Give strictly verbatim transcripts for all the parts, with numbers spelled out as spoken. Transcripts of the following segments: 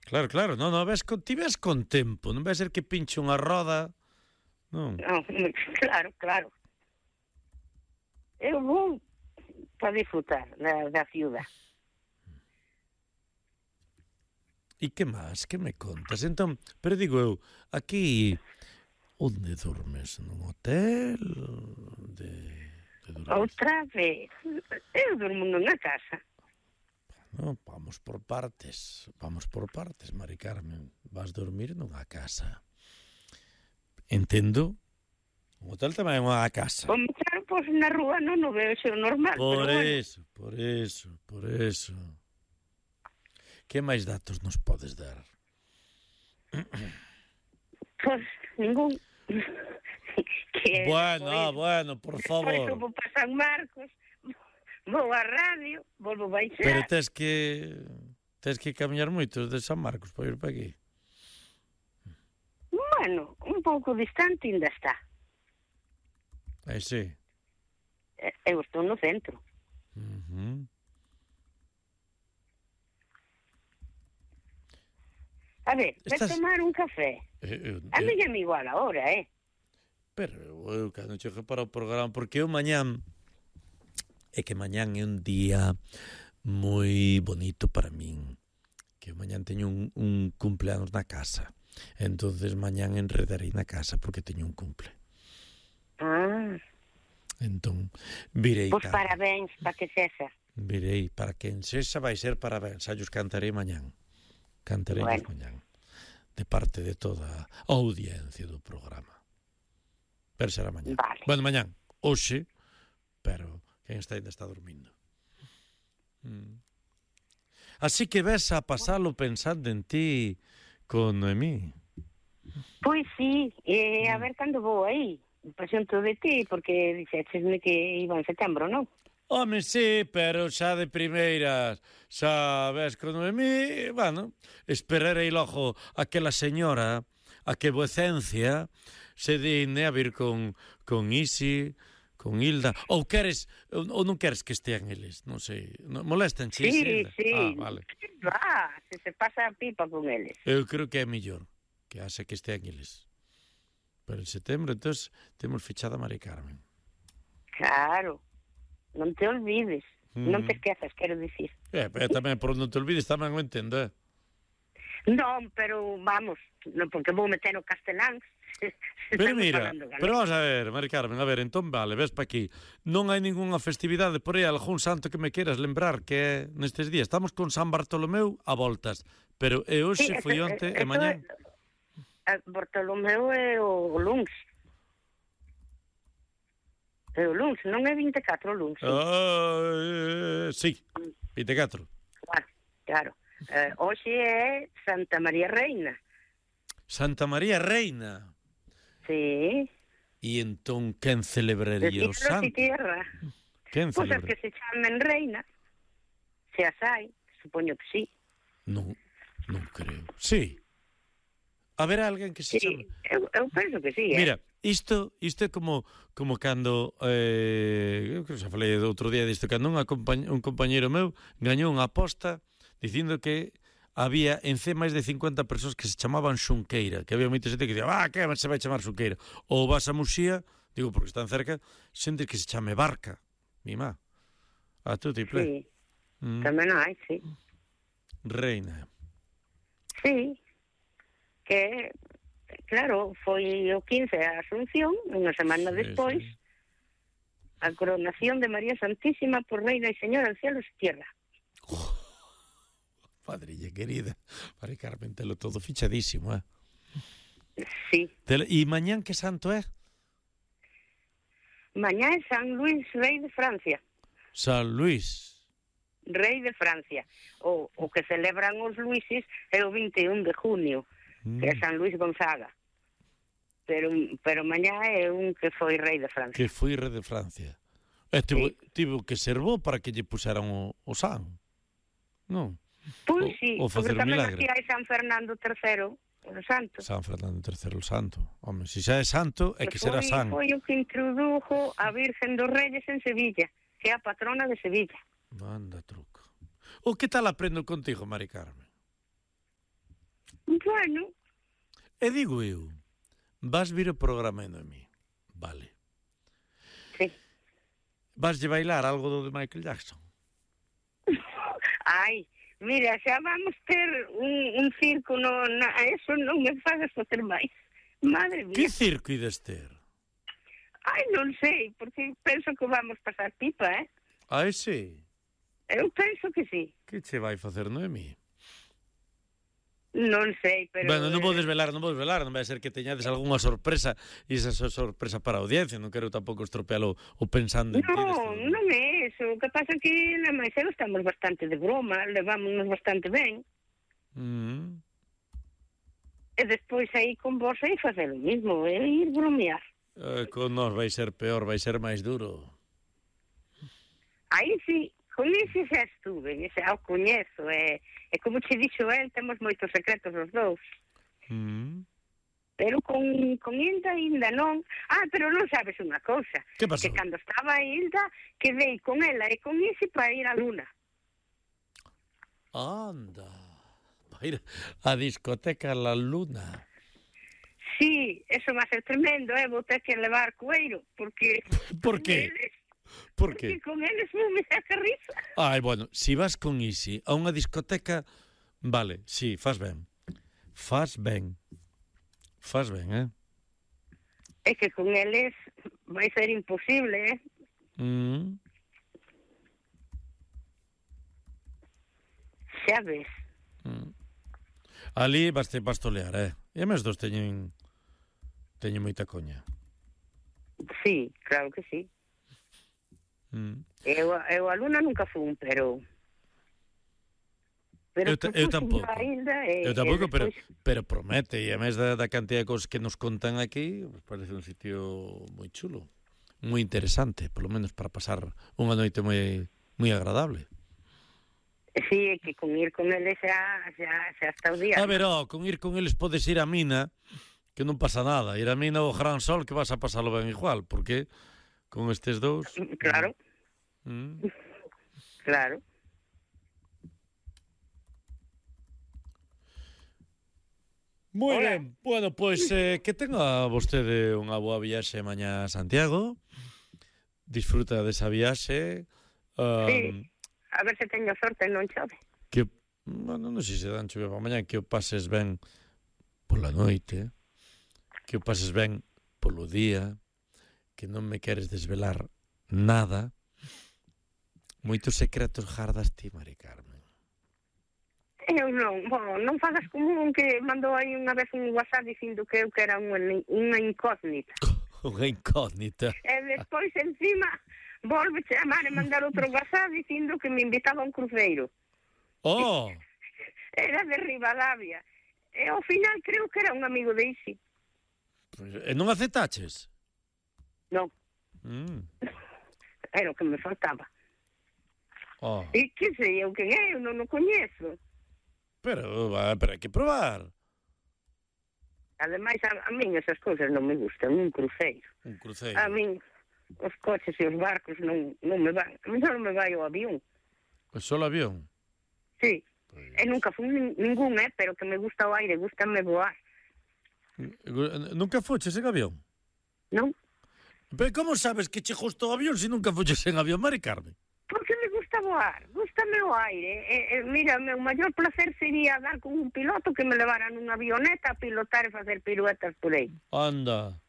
Claro, claro, non, non, ves con, ti ves con tempo, non vai ser que pinche unha roda, non. No, claro, claro. Eu vou para disfrutar da, da ciudad. E que máis? Que me contas? Entón, pero digo eu, aquí, onde dormes? Nun hotel? De, de dormir? Outra vez, eu durmo nunha casa. No, vamos por partes, vamos por partes, Mari Carmen. Vas dormir nunha casa. Entendo. Un hotel tamén é unha casa. Como claro, pois na rúa non o veo xo normal. Por pero eso, bueno. por eso, por eso. Que máis datos nos podes dar? Pois ningún. que, bueno, ah, bueno, por favor. Por eso vou para San Marcos, vou á radio, volvo baixar. Pero tes que tes que camiñar moito de San Marcos para ir para aquí. Bueno, un pouco distante ainda está. Aí sí. Eu estou no centro. Uh-huh. A ver, Estás... vai tomar un café. Eh, eu, a mí é igual ahora, eh? Pero eu cando chegue para o programa, porque eu mañán é que mañán é un día moi bonito para min, que mañán teño un, un cumpleanos na casa, entonces mañán enredarei na casa porque teño un cumple. Ah. Entón, virei. Pois parabéns para que sexa. Virei, para quen sexa vai ser parabéns, xa os cantarei mañán. Cantarei bueno. mañán. De parte de toda a audiencia do programa. Pero será mañán. Vale. Bueno, mañán, hoxe, pero quen está ainda está dormindo. Mm. Así que ves a pasalo pensando en ti con Noemí. Pois sí, eh, a ver cando vou aí. Presento de ti, porque dixéchesme que iba en setembro, non? Home, sí, pero xa de primeiras, xa ves con Noemí, bueno, esperarei logo aquela señora, a que vocencia se digne a vir con, con Isi, con Hilda, ou queres, ou non queres que estean eles, non sei, molestan sí, Hilda? Sí, ah, vale. Va, se se pasa a pipa con eles. Eu creo que é mellor que hace que estean eles. Pero en setembro, entón, temos fichada a Mari Carmen. Claro. Non te olvides, mm. non te esquezas, quero dicir. Eh, pero tamén, por non te olvides, tamén o entendo, eh? Non, pero vamos, non, porque vou meter o castelán. Pero mira, pero vamos a ver, Mari Carmen, a ver, entón vale, ves pa aquí. Non hai ningunha festividade por aí, algún santo que me queiras lembrar que é nestes días. Estamos con San Bartolomeu a voltas, pero e hoxe sí, foi onte e mañán. Bartolomeu é o luns. É o luns, non é vinte e catro o luns. Sí, uh, sí vinte e catro. Claro, claro. Uh, hoxe é Santa María Reina. Santa María Reina? Sí. E entón, quen celebraría o santo? De tierra. Quen Pois celebraría? as que se chamen Reina, se as hai, supoño que sí. Non, non creo. Sí. Haberá alguén que se sí, chame? Eu, eu penso que sí, eh? Mira, isto isto é como como cando eh, eu creo que xa falei outro día disto, cando un, compañ, un compañero meu gañou unha aposta dicindo que había en C máis de cincuenta persoas que se chamaban Xunqueira, que había moita xente que dicía, ah, que se vai chamar Xunqueira, ou vas a Muxía, digo porque están cerca, xente que se chame Barca, mi má, a tu tiple. Sí, mm. tamén hai, sí. Reina. Sí, que, claro, foi o quince a Asunción, unha semana sí, despois, sí. A coronación de María Santísima por Reina e Señora del Cielo e Tierra. Oh, padrilla querida, Mari Carmen, telo todo fichadísimo, eh? Sí. E mañán que santo é? Mañá é San Luis, rei de Francia. San Luis. Rei de Francia. O, o que celebran os Luises é o vinte e un de junio. Que é San Luis Gonzaga. Pero pero mañá é un que foi rei de Francia. Que foi rei de Francia. E tivo, sí. tivo que ser bo para que lle puseran o, o san. Non? Pois sí, o facer porque tamén milagre. aquí hai San Fernando terceiro, o santo. San Fernando terceiro, o santo. Home, se xa é santo, é que, que será san. Foi o que introdujo a Virgen dos Reyes en Sevilla, que é a patrona de Sevilla. Manda truco. O que tal aprendo contigo, Mari Carmen? Bueno. E digo eu, vas vir o programa de Noemí, vale. Sí. Vas lle bailar algo do de Michael Jackson? Ai, mira, xa vamos ter un, un circo, no, na, eso non me fagas facer máis. Madre mía. Que circo ides ter? Ai, non sei, porque penso que vamos pasar pipa, eh? Ai, sí. Eu penso que sí. Que che vai facer Noemí? Non sei, pero... Bueno, non vou desvelar, non vou desvelar, non vai ser que teñades algunha sorpresa e esa sorpresa para a audiencia, non quero tampouco estropealo o pensando en No, ti. non é eso, o que pasa é que na máis eu estamos bastante de broma, levámonos bastante ben, Mm. e despois aí con vos aí facer o mismo, é ir bromear. Eh, con nós vai ser peor, vai ser máis duro. Aí sí, con ese xa estuve, xa o coñezo, e, e como che dixo el, temos moitos secretos os dous. Mm. Pero con, con Hilda ainda non. Ah, pero non sabes unha cousa. Que pasou? Que cando estaba Hilda, quedei con ela e con Isi para ir á Luna. Anda. Vai ir a discoteca La Luna. Sí, eso va a ser tremendo, eh? Vou ter que levar coeiro, porque... Por que? Por que? Porque con eles non me saca risa. Ai, bueno, si vas con Isi a unha discoteca, vale, si, sí, faz ben. Faz ben. Faz ben, eh? É que con eles vai ser imposible, eh? Mm. Xa ves. Mm. Ali vas te pastolear, eh? E a mes dos teñen teñen moita coña. Sí, claro que sí. Mm. Eu, eu a Luna nunca fun, pero... Pero Eu, ta, eu tampouco. E, eu tampouco, e pero, despois... pero promete, e a mes da, da cantidad de cosas que nos contan aquí, pues parece un sitio moi chulo, moi interesante, polo menos para pasar unha noite moi moi agradable. Sí, é que con ir con eles xa, xa, xa está o día. A ver, oh, con ir con eles podes ir a mina, que non pasa nada. Ir a mina o Gran Sol, que vas a pasalo ben igual, porque con estes dous... Claro. Mm. Claro. Moi Hola. ben, bueno, pois eh, que tenga vostede unha boa viaxe mañá a Santiago. Disfruta desa viaxe. Um, Sí, a ver se teño sorte e non chove. Que, bueno, non sei se dan chove para mañá, que o pases ben pola noite, que o pases ben polo día, que non me queres desvelar nada. Moitos secretos jardas ti, Mari Carmen. Eu non, bueno, non fagas como un que mandou aí unha vez un WhatsApp dicindo que eu que era unha, unha incógnita. Unha incógnita. E despois encima volve chamar e mandar outro WhatsApp dicindo que me invitaba a un cruceiro. Oh! Era de Ribadavia. E ao final creo que era un amigo de Isi. E non aceptaches? Non. Mm. Era o que me faltaba. Oh. E que sei eu quen é, eu non o coñezo. Pero, pero hai que probar. Ademais, a, a min esas cousas non me gustan, un cruceiro. Un cruceiro. A min os coches e os barcos non, non me van. A min non me vai o avión. O solo avión? Sí. Pues... E nunca fui ningún, eh, pero que me gusta o aire, gustame voar. Nunca foches en avión? Non? Pero como sabes que che gustou o avión se nunca foches en avión, Mari Carmen? Porque me gusta voar, gustame o aire. E, e, mira, o meu maior placer sería dar con un piloto que me levara nunha avioneta a pilotar e facer piruetas por aí. Anda.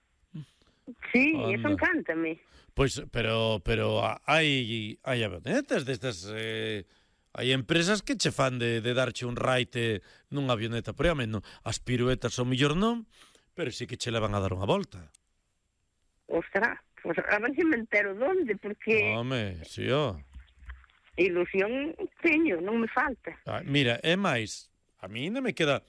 Sí, Anda. eso encántame. Pois, pero, pero hai, hai avionetas destas... Eh, hai empresas que che fan de, de darche un raite nunha avioneta, pero a menos as piruetas o millor non, pero sí que che levan a dar unha volta. Ostras, pues a ver se me entero donde, porque... Home, si, ó. Ilusión teño, non me falta. Ah, mira, é máis, a mí non me queda...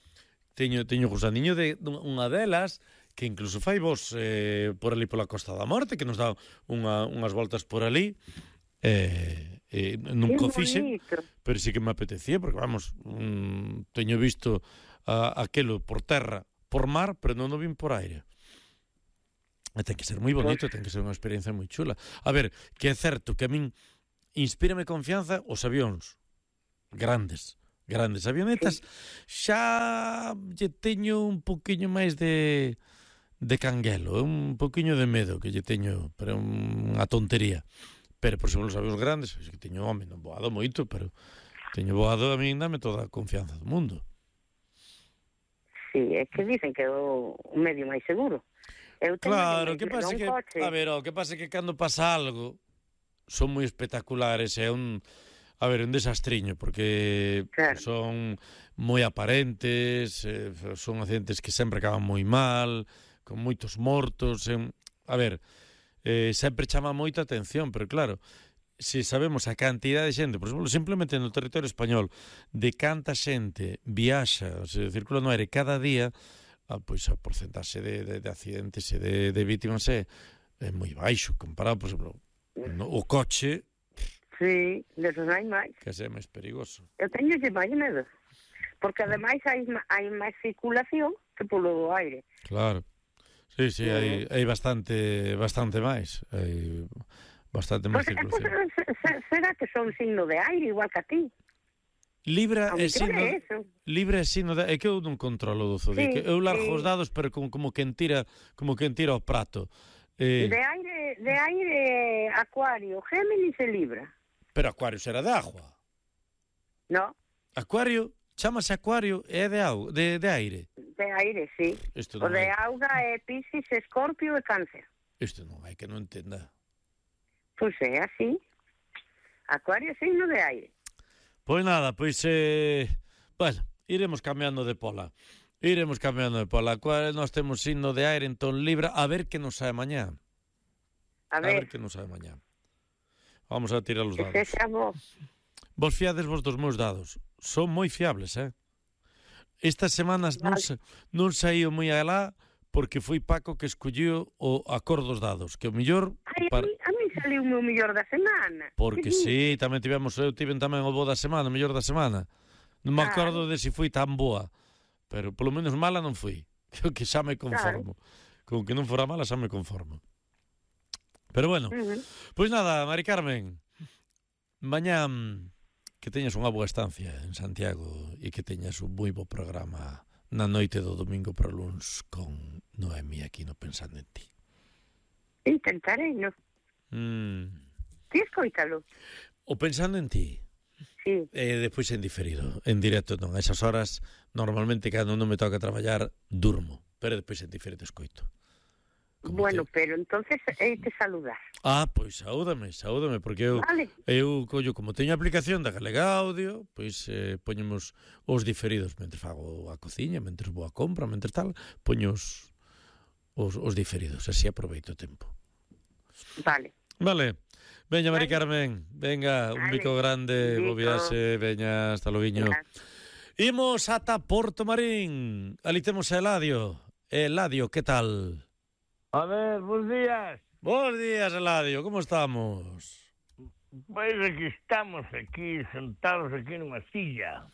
Teño, teño gusaniño de unha delas que incluso fai vos eh, por ali pola Costa da Morte, que nos dá unha, unhas voltas por ali. Eh, eh, nunca o fixen, pero sí que me apetecía, porque vamos, um, teño visto a, aquelo por terra, por mar, pero non o vin por aire. E ten que ser moi bonito, ten que ser unha experiencia moi chula. A ver, que é certo que a min inspírame confianza os avións grandes, grandes avionetas, sí. Xa lle teño un poquinho máis de de canguelo, un poquinho de medo que lle teño, pero unha tontería. Pero por exemplo, os avións grandes, que teño, home, non voado moito, pero teño voado, a mí dame toda a confianza do mundo. Sí, é que dicen que é o medio máis seguro. Eu claro, que pasa que, coche. A ver, o que pasa que cando pasa algo son moi espectaculares, é un, a ver, un desastriño, porque claro. Son moi aparentes, eh, son accidentes que sempre acaban moi mal, con moitos mortos, eh, a ver, eh, sempre chama moita atención, pero claro, se sabemos a cantidad de xente, por exemplo, simplemente no territorio español, de canta xente viaxa, o sea, circula no aire cada día, ah, pois a porcentaxe de, de, de accidentes e de, de vítimas é, é moi baixo, comparado, por exemplo, no, o coche. Sí, desos hai máis. Que é máis perigoso. Eu teño lle máis medo, porque ademais hai, hai máis circulación que polo aire. Claro, sí, sí, hai, hai bastante, bastante máis, hai... bastante máis pues, circulación. Pues, será que son signo de aire, igual que a ti? Libra é signo, Libra é signo de... É que eu non controlo do zodiaco. Sí, eu largo sí. Os dados, pero como, como quen tira como quen tira o prato. Eh... De aire, de aire, Acuario, Géminis e Libra. Pero Acuario será de agua. No. Acuario, chámase Acuario, é de, au... de, de aire. De aire, sí. O de hai... auga é Piscis, Escorpio e Cáncer. Isto non hai que non entenda. Pois é así. Acuario signo de aire. Pois nada, pois eh, bueno, iremos cambiando de pola. Iremos cambiando de pola. Acuario, nós temos signo de aire, entón Libra, a ver que nos sae mañá. A ver. A ver que nos sae mañá. Vamos a tirar os dados. Que xa vos. Vos fiades vos dos meus dados. Son moi fiables, eh? Estas semanas vale. non, sa, non saío moi alá porque foi Paco que escolliu o a cor dos dados, que o mellor... Ai, para... a mí saliu o meu mellor da semana. Porque sí, tamén tivemos, eu tiven tamén o bo da semana, o mellor da semana. Non me acordo ah. de se foi tan boa, pero polo menos mala non foi. Creo que xa me conformo. Claro. Con que non fora mala xa me conformo. Pero bueno, uh-huh. Pois nada, Mari Carmen, mañá que teñas unha boa estancia en Santiago e que teñas un moi bo programa na noite do domingo para luns con Noemi aquí no Pensando en Ti. Intentarei, no? Mm. Ti escoítalo? O Pensando en Ti. Sí. E depois en diferido, en directo non. A esas horas, normalmente cando non me toca traballar, durmo. Pero depois en diferido escoito. Como bueno, te... pero entonces hai que saludar. Ah, pois saúdame, saúdame, porque eu, vale. eu collo, como teño a aplicación da Galega Audio, pois eh, poñemos os diferidos, mentre fago a cociña, mentre vou a compra, mentre tal, poño os, os, os diferidos, así aproveito o tempo. Vale. Vale. Veña, Mari vale. Carmen, venga, vale. Un bico grande, bo viaxe, veña, hasta loguiño. Imos ata Porto Marín, ali temos a Eladio. Eladio, que tal? A ver, bons días. Bons días, Eladio, como estamos? Pois aquí estamos, aquí, sentados aquí nunha silla.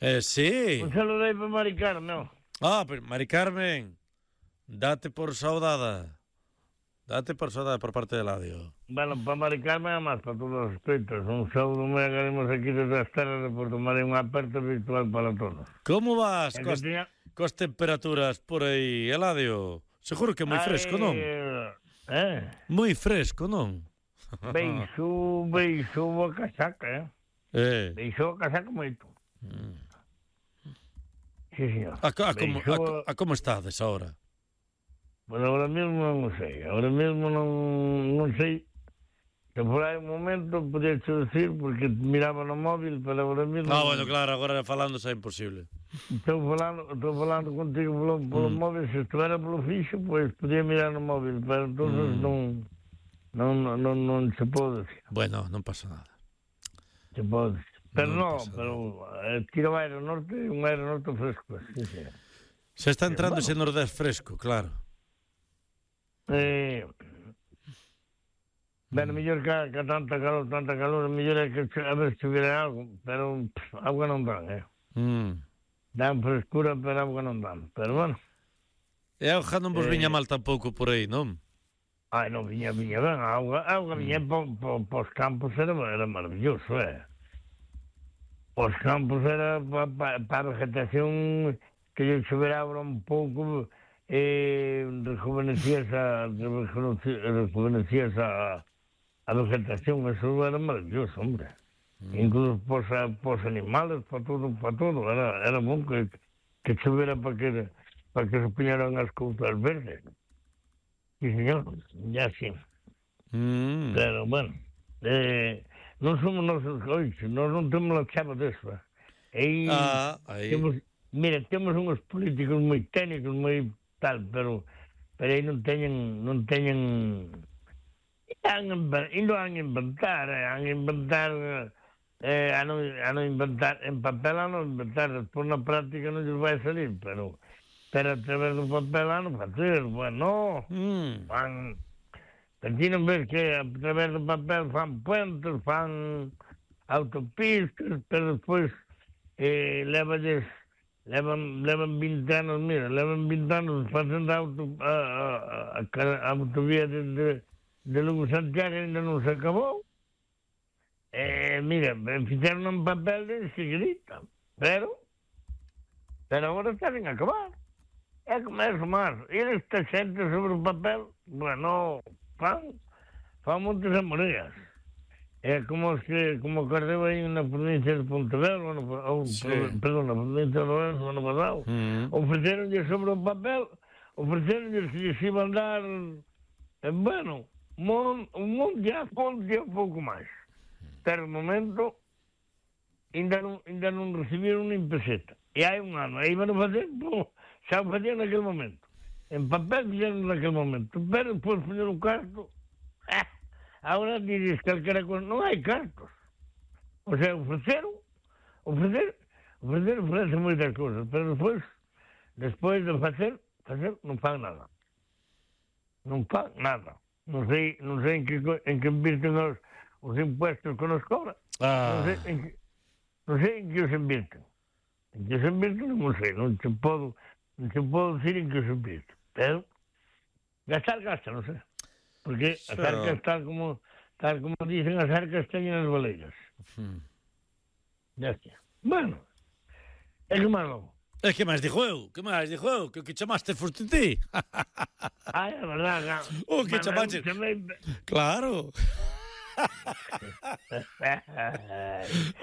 Eh, sí. Un saludei para Mari Carmen. Ah, pero Mari Carmen, date por saudada. Date por saudada por parte de Eladio. Bueno, para Mari Carmen e máis para todos os espectros. Un saúdo moi agaremos aquí desde as terras de Porto Marín, un aperto virtual para todos. Como vas coas, tenía... coas temperaturas por aí, Eladio? Seguro que é moi fresco, non? Eh? Moi fresco, non? Beixo, beixo a casaca, eh? Eh. Beixo a casaca moito. Mm. Sí, señor. A, a, como, a, a como estades agora? Bueno, agora mesmo non sei. Agora mesmo non, non sei. Que por aí un momento podía te decir, porque miraba no móvil, pero agora mesmo... Ah, bueno, claro, agora falando xa é imposible. Estou falando, estou falando contigo polo, polo mm. móvil, se estivera polo fixo, pois pues, podía mirar no móvil, pero entonces mm. non, non, non, non, non se pode decir. Bueno, non pasa nada. Se pode decir. Pero non, no, pero eh, tira o aire norte, un aire norte fresco. Sí, sí. Se está entrando ese bueno. Nordés fresco, claro. Eh... Bueno, mellor que, que tanta calor, tanta calor, mellor é que a ver se hubiera algo, pero pff, agua non dan, eh. Mm. Dan frescura, pero agua non dan, pero bueno. E a auga non vos eh... viña mal tampouco por aí, non? Ai, non viña, viña ben, a auga, a auga viña mm. po, po, pos campos, era, era maravilloso, eh. os campos era para pa, pa a vegetación que lle choveraba un pouco, eh, rejuvenecías a, rejuvenecías a, a vegetación, eso era maravilloso, hombre. Mm. Incluso para os animales, para todo, para todo, era, era bom que, que chovera para que, para que se puñeran as cousas verdes. Sí, señor, ya sí. Mm. Pero, bueno, eh, non somos nosos coiches, nós non temos a chave deso. Aí, ah, aí. Temos, mira, temos uns políticos moi técnicos, moi tal, pero pero aí non teñen, non teñen ainda han inventar, han inventar eh, a non, a non inventar en papel, a non inventar, despois na práctica non lles vai salir, pero pero a través do papel a non facer, bueno, mm. fan aquí non ves que a través do papel fan puentes, fan autopistas, pero despois eh, levalles levan, levan vinte anos, mira, levan vinte anos facendo auto, a, a, a, a autovía de, de, de Lugo Santiago ainda non se acabou. Eh, mira, fixeron un papel de enseguidita, pero pero agora están a acabar. É como é máis. E esta xente sobre o papel, bueno, fan, fan moitas amorías. É como que, como acordeu aí na provincia de Pontevedra, ou, sí. perdón, na provincia de Lorenzo, ano pasado, mm. ofreceronlle sobre o papel, ofreceronlle que lles iban dar, eh, bueno, mon, un monte a fonte e un pouco máis. Pero no momento, ainda non, ainda non recibiron nin peseta. E hai un ano, aí van a facer, pô, xa o facían naquele momento. En papel fixeron naquele momento, pero depois poñer un carto, eh, agora dices calquera cosa, non hai cartos. O sea, ofreceron, ofrecer, ofrecer, ofrecen moitas cousas, pero despois, despois de facer, facer, non fan nada. Non fan nada. Non sei, non sei en que, en que invirten os, os impuestos que nos cobran. Ah. Non sei en que, non sei en que os invirten. En que os invirten non sei, non te podo, non te podo dicir en que os invirten. Pero, gastar, gasta, non sei. Porque as arcas, tal como, tal como dicen, as arcas teñen as baleiras. Hmm. Ya está. Bueno, é que máis logo. É que máis dixo eu, que máis dixo eu, que o que chamaste foste ti. Ai, é verdad. O que chamaste... Chamei... Claro.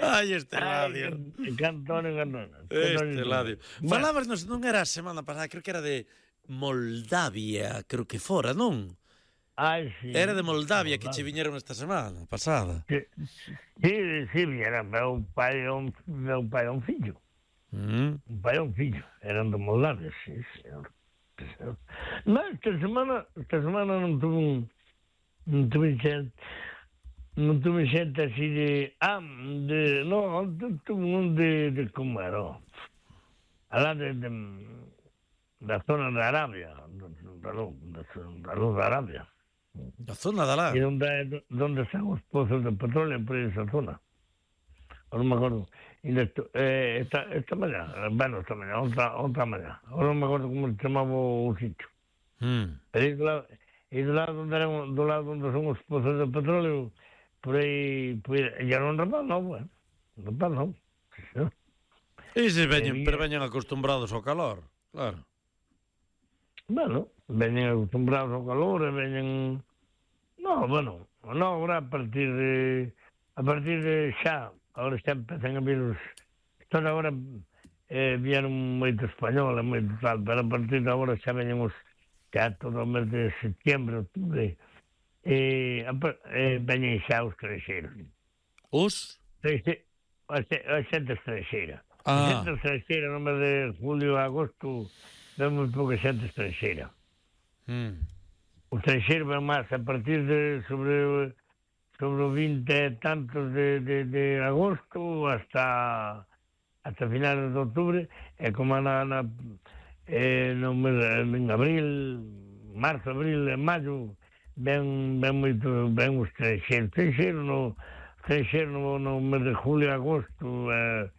Ai, este Ladio. Cantón e cantón. Este Ladio. Falabas, non era a semana pasada, creo que era de Moldavia, creo que fora, non? Ai, sí. Era de Moldavia que che viñeron esta semana pasada. Sí, sí, sí viñera meu pai e un, meu pai e un fillo. Mm. Un pai e un fillo. Eran de Moldavia, sí, señor. Mas esta semana, esta semana non tuve un, non tuve xente, non tuve xente así de, ah, de, non, tuve un de, de como era, alá de, de, da zona de Arabia, da luz, da luz de Arabia. Da zona de lá? E onde, onde están os pozos de petróleo, por esa zona. Non me acordo. Eh, esta, esta mañá, bueno, esta mañá, outra, outra mañá. Ahora non me acordo como se chamaba o sitio. Mm. Pero aí do lado, aí do lado onde eran, do lado onde son os pozos de petróleo, por aí, por aí, ya non rapaz novo, eh? Rapaz novo. E se veñen, pero veñen acostumbrados ao calor, claro. Bueno, veñen acostumbrados ao calor e veñen... No, bueno, no, agora a partir de... A partir de xa, agora xa empezan a vir os... Toda agora eh, vieron moito español e moito tal, pero a partir de agora xa veñen os... Xa todo o mes de setembro, octubre, e eh, veñen xa os creixeiros. Os? A xente estranxeira. A xente estranxeira no mes de julio e agosto... Ven moi pouca xente estranxeira. Mm. O estranxeiro ven máis a partir de sobre sobre o vinte e tantos de, de, de agosto hasta hasta finales de outubro, e como na, na eh, no mes, en abril, marzo, abril e maio ven, ven moito, ven o estranxeiro. Estranxeiro no, estranxeiro no, no mes de julio e agosto, eh,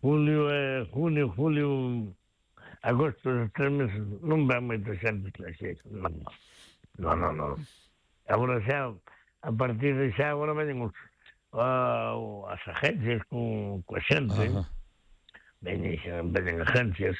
julio e junio, julio... Agosto, os tres meses, non ven moito xente estranxeira. Non, non, non. Agora xa, a partir de xa, agora veñen os, uh, as agencias con, coa xente, veñen, veñen agencias